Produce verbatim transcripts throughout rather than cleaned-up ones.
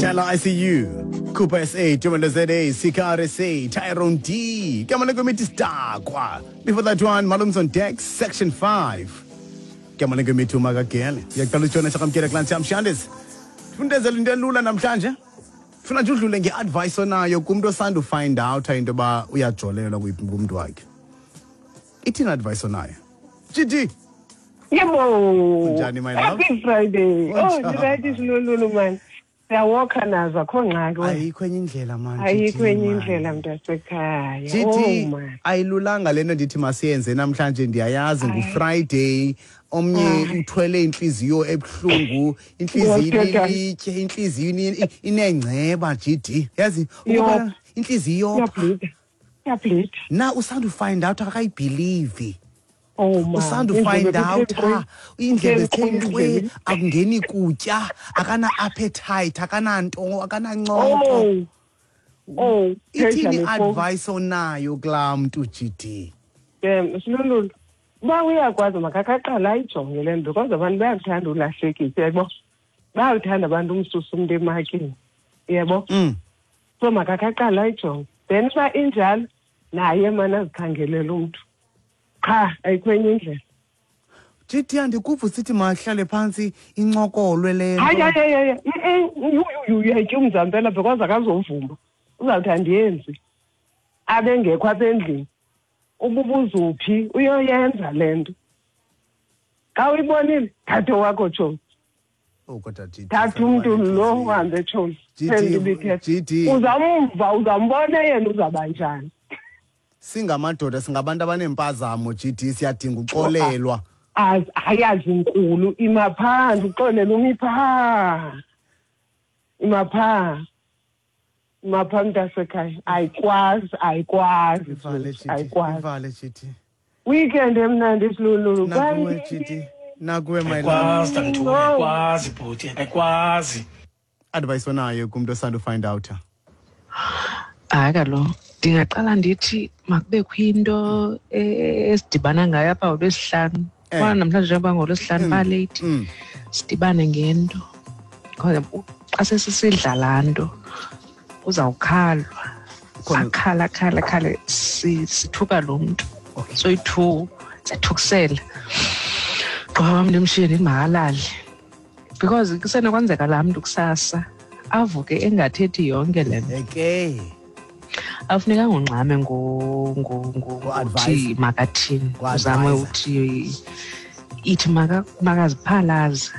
Chala I C U, Cooper S A, Jumanda Z A, C K R S A, Tyrone D, Kamala Committee Star. Before that one, Malums on Deck, Section five. Kamala Committee Magakele. Yakalo Chona Chakam Kera Clan Sam Shandes. Fundeza Lindalula Namtanje. Funa nje udlule ngeadvice onayo kumntu osanda find out into ba uyajolelwa kumntu wakhe. Ithini advice onayo? G G. Yebo. Njani my love? Happy Friday. Oh, right is lulu man. Siyawalka nazo akho ngxaki. Ayikho enye indlela man. Ayikho enye indlela mntasekhaya. Oh man. Ayilulanga lento ndithi masiyenze namhlanje ndiyayazi nguFriday. Omnye uthwele inhliziyo ebhlungu, inhliziyo ilitye, inhliziyo inengceba G D. Yazi ukuba inhliziyo iyableed. Iyableed. Na usanda find out akayibelieve. Oh man. Usanda find out indlebe zithe akungeni kutya, akana appetite, akananto, akanancoko. Oh. Oh, ithini advice onayo kulaa mntu G D? Um, Silulu. Uba uyakwazi makakaqala ayijonge le nto because abantu bayakuthanda ulahlekisa, yabo. Bayakuthanda abantu umsusa umntu emakini, yabo. So makakaqala ayijonge. Then uba injalo naye mane azikhangelele umntu. Qha ayikho enye indlela. G D andikuva usithi mahlale phantsi incokolwe le nto. Hayi hayi hayi. Uyayityumza mpela because akazovuma. Uzawuthi andiyenzi. Abe ngekho apha endlini. Ububuzuphi uyoyenza le nto. Xa uyibonile thathe wakho tshomi. Oh kodwa G D. Thatha umntu lo uhambe tshomi. G D. Uzamva uzambona yena uzaba njani. Singamadoda singabantu abanempazamo G D siyadinga uxolelwa. Ayazi inkulu imaphandle uxolelwa umipha. Imapha. Mapha mntasekhaya ayikwazi ayikwazi ayikwazi. Ivale G D. Weekend emnandi Silulu. Nakuwe G D. Nakuwe my love. Ayikwazi Tanthu, ayikwazi bhuti, ayikwazi. Advice onayo kumntu osanda find out. Hayi kaloku ndingaqala ndithi makubekho into esidibana ngayo apha ngoLwesihlanu. Kwana namhlanje njengoba ngoLwesihlanu ba-late. Sidibane ngento. Xa sesisidla laa nto uzawukhalwa. Akhala akhala akhale sithuka lo mntu. Soyi-two siyathukusela. Gqiba wam ndimshiye ndithi makalale. Because kusenokwenzeka laa mntu kusasa avuke engathethi yonke le nto. Okay. Afunekanga ungxame ngokuthi makathini. Uzame uthi ithi makaziphalaze.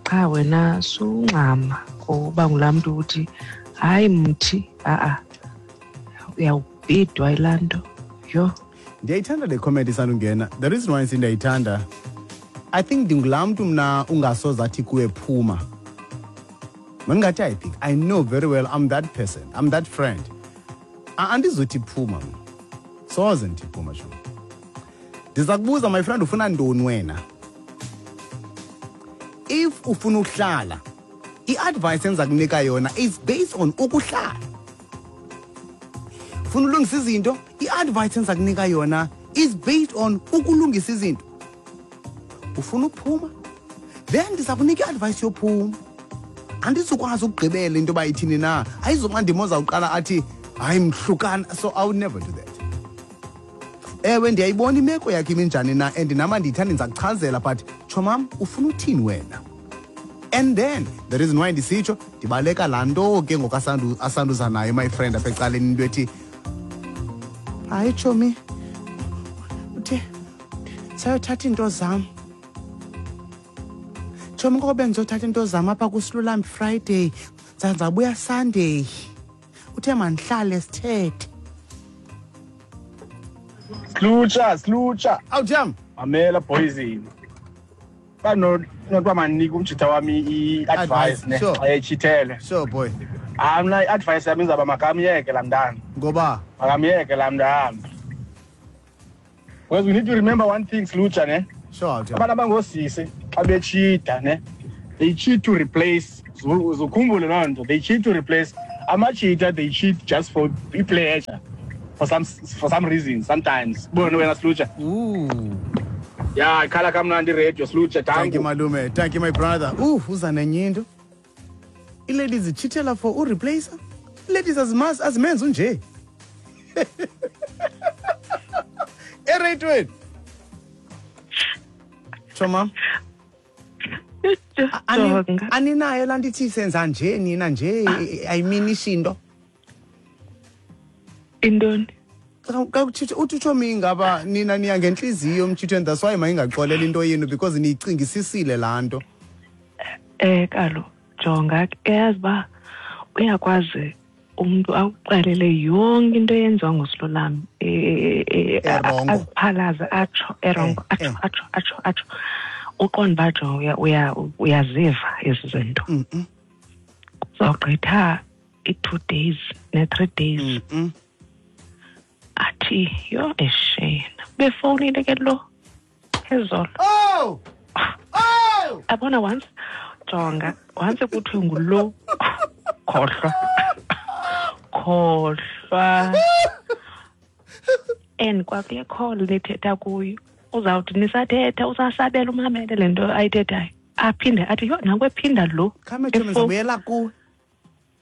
Qha wena sungxama ngoba ngulaa mntu uthi hayi mthi a-a uyawubhidwa yilaa nto. Yho. Ndiyayithanda le comment isandungena. The reason why ndiyayithanda, I think ndingulaa mntu mna ungasoze athi kuwe phuma. Mandingathi I think I know very well I'm that person. I'm that friend. Andizothi phuma mna. Soze ndithi phuma sho. Ndiza kubuza my friend ufuna ntoni wena? If ufuna ukuhlala, i-advice enza kunika yona is based on ukuhlala. Ufuna ulungisa izinto, i-advice enza kunika yona is based on ukulungisa izinto. Ufuna ukuphuma, then ndiza kunika i-advice yophuma. Andizukwazi ukugqibela into yoba ithini na. Ayizuba ndim ozawuqala athi hayi mhlukana, so I would never do that. Ewe ndiyayibona imeko yakhe iminjani na and nama ndiyithanda ndiza kuchazela but tshomam ufuna uthini wena? And then the reason why ndisitsho ndibaleka laa nto ke ngoku asanduza nayo my friend apha ecaleni into ethi hayi tshomi uthe sayothatha iinto zam. Tshomi ngoku bendizothatha iinto zam apha kuSilulambi Friday ndizabuya Sunday. Uthe mandihlale sithethe. Slucha, slucha. Awu jam. Mamela poison. Ba no not manika umjitha wami i-advice ne xa echithele. Sure boy. Ah mna i-advice yami izaba makamyeke laa mntana. Ngoba? Makamyeke laa mntana. Because we need to remember one thing Slucha ne. Sure. Abantu abangosisi xa bechitha ne they cheat to replace. Uzukhumbule loo nto. They cheat to replace. Amachitha they cheat just for i-pleasure. For some for some reason sometimes. Bona wena Slucha. Ooh. Yeah, ikhala kamnandi radio Slucha. Thank you malume. Thank you my brother. Ooh, uza nenye into. Ii-ladies zitshithela for ureplacer. Ii-ladies azimazi azimenzi unje. Ereyitweni. Tsho mam. Aninayo laa nto ithi senza nje nina nje ayiminishi into. Intoni? Uthi utsho ngaba nina niya ngentliziyo mtshithweni, that's why mayingaxolela into yenu because niyicingisisile laa nto. Eh kalo jonga eyazi uba uyakwazi umntu akuxelele yonke into eyenziwa nguSilolami aziphalaze atsho erongo atsho atsho atsho atsho uqonda uba jonga uyaziva ezi zinto. Uzawugqitha i-two days ne-three days athi yho eshena befowunile ke lo phezolo. Oh! Oh! Abona once jonga once kuthiwe ngulo khohlwa khohlwa and kwakule call nithetha kuyo uzawuthi nisathetha usasabela umamele le nto ayithethayo aphinde athi yho nanku ephinda lo khame tshomi ndizawubuyela kuwe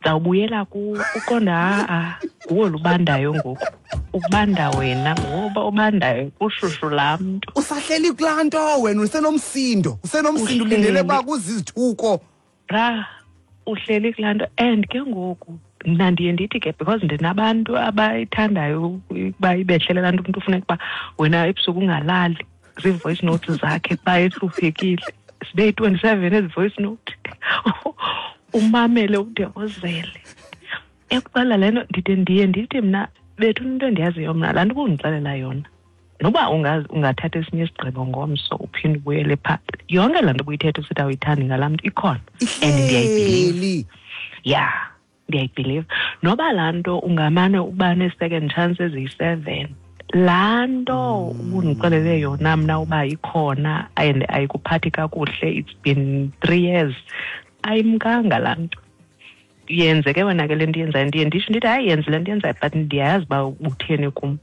ndizawubuyela kuwe uqonda ha-a nguwe lubandayo ngoku ubanda wena ngoba ubandayo kushushu laa mntu usahleli kulaa nto wena usenomsindo usenomsindo ulindele uba kuzizithuko bra uhleli kulaa nto. And ke ngoku mna ndiye ndithi ke because ndinabantu abayithandayo ukuba ibehlele laa nto umntu ufuneka uba wena ebusuku ungalali zii-voice notes zakhe xa ehluphekile zibe yi-twenty-seven ezi voice note umamele ude ozele ekuxelela le nto. Ndide ndiye ndithi mna bethu into endiyaziyo mna laa nto ubundixelela yona noba ungathatha esinye isigqibo ngomso uphinde ubuyele phaa yonke laa nto ubuyithetha usithi awuyithandi ngalaa mntu ikhona and ndiyayibhiliva ya ndiyayibhiliva noba laa nto ungamane uba nee-second chance eziyi-seven laa nto ubundixelele yona mna uba ikhona and ayikuphathi kakuhle it's been three years ayimkanga laa nto. Yenze ke wena ke le nto yenzayo ndiye nditsho ndithi hayi yenze le nto yenzayo but ndiyayazi uba utheni kum.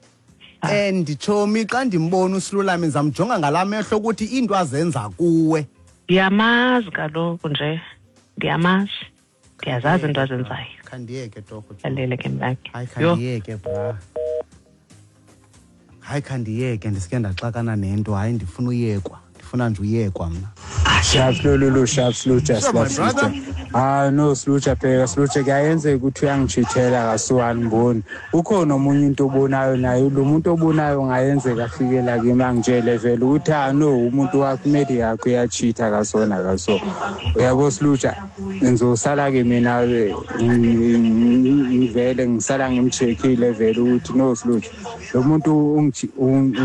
And tshomi xa ndimbona uSilolami ndizamjonga ngalaa mehlo ukuthi iinto azenza kuwe ndiyamazi kaloku nje ndiyamazi ndiyazazi iinto azenzayo. Khandiyeke torho alele ke mntakhe. Hayi khandiyeke bra hayi khandiyeke ndisike ndaxakana nento hayi ndifuna uyekwa ndifuna nje uyekwa mna. Sharp lulu sharp slucha slucha. Ah no slucha phela slucha kuyenzeka ukuthi uyangijithela kasuwani ngiboni. Ukhona omunye umuntu obonayo naye lo muntu obonayo ngayenzeka afike la kimi angitshele vele ukuthi ah no umuntu wakho imedi yakho uyachitha kasona kaso. Uyabo slucha ngizosala ke mina ngivele ngisala ngimcheckile vele ukuthi no slucha lo muntu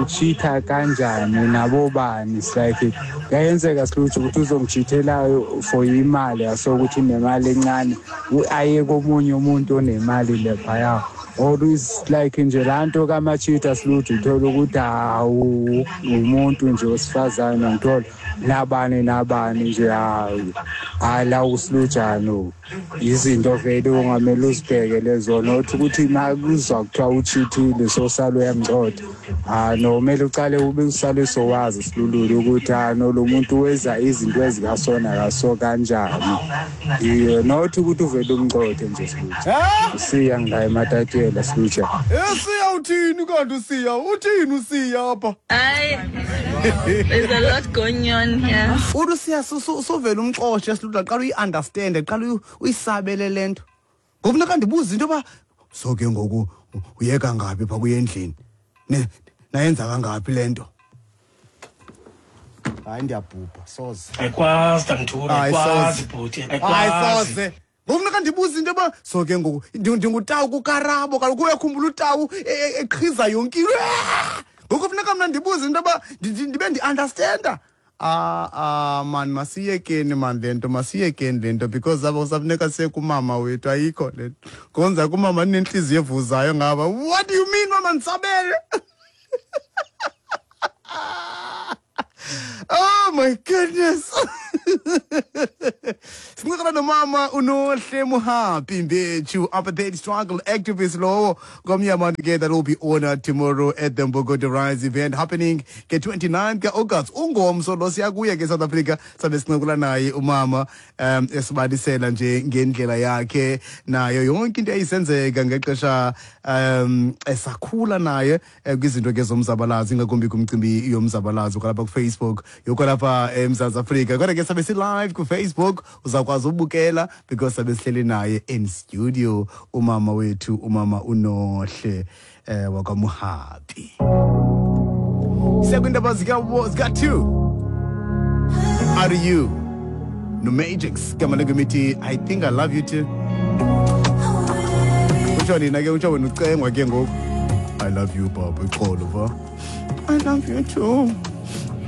uchitha kanjani nabo bani like kuyenzeka slucha ukuthi uzongijithela for imali asokuthi nemali encane aye komunye umuntu onemali lephaya or is like nje lanto kamachitha sluthi uthola ukuthi hawu umuntu nje osifazana ngithola nabani nabani nje hayi hayi la uslujano izinto vele ungamele uzibheke lezo not ukuthi makuzwa kuthiwa uchithile sosalo uyamcotha ah no kumele uqale ube usale sowazi silulule ukuthi ah no lo muntu weza izinto ezikasona kaso kanjani iyo not ukuthi uvele umcothe nje silutsha usiya ngaye ematatshela silutsha. Esiya uthini kanti usiya uthini usiya apha? Hayi there's a lot going on here. Uthi usiya suvele umxoshe silutha qala uyi-understand qala uyisabele le nto ngoku funeka ndibuze into yoba so ke ngoku uyeka ngaphi phaa kuye endlini nayenza kangaphi le nto. Hayi ndiyabhubha soze ayikwazi tamthura ayikwazi bhuti ayikwazi soze ngoku funeka ndibuze into yoba so ke ngoku ndingutawu kukarabo kaloku uyakhumbula utawu eqhiza yonke into ngoku funeka mna ndibuze into yoba ndibe ndi-understanda. Ah ah man masiyekeni man le nto masiyekeni le nto because abo safuneka siye kumama wethu ayikho le nto konza kumama ninentliziyo evuzayo ngaba what do you mean mama ndisabele. Oh my goodness. Sincokola nomama uNohle Muhapi Mbetshu, apartheid struggle activist lowo ngomnye abantu ke that will be honored tomorrow at the Mbokodo Rise event happening ke twenty-ninth ka-August. Ungomso lo siya kuye ke South Africa, sabe sincokola naye umama um esibalisela nje ngendlela yakhe nayo yonke into eyisenzeka ngexesha um esakhula naye eh, kwizinto ke zomzabalazo, ingakumbi kumcimbi yomzabalazo kwalapha kuFacebook yokwalapha eMzantsi Afrika. Kodwa ke sabe si-live kuFacebook, uzawukwazi ubukela because sabe sihleli naye in studio umama wethu, umama uNohle eh wakwaMuhapi. Siyakwindaba zika zika two Are you no Matrix gama lengoma I Think I Love You Too. Utsho nina ke, utsho wena ucengwa ke ngoku. I love you baba, ixolo va. I love you too.